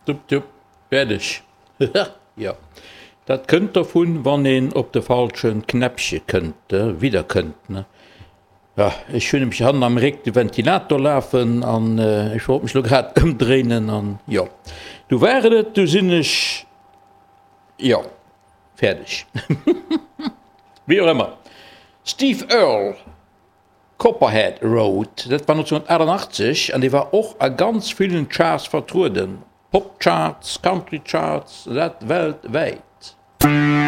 Tupp, tupp, fäerdeg. Jo, dat kënnt dovun, wann een op de falsche Knäppche kënnt, widder kënnt, ne? Jo, ech hunn nämlech hannen am Réck de Ventilator lafen an ech wollt mech lo grad ëmdréinen an jo, du war et et, du sinn ech, jo, fäerdeg. Wéi och ëmmer, Steve Earle. Copperhead Road, dat war 1988 an dee war och a ganz villen Charts vertrueden, Pop Charts, Country Charts, dat weltwäit.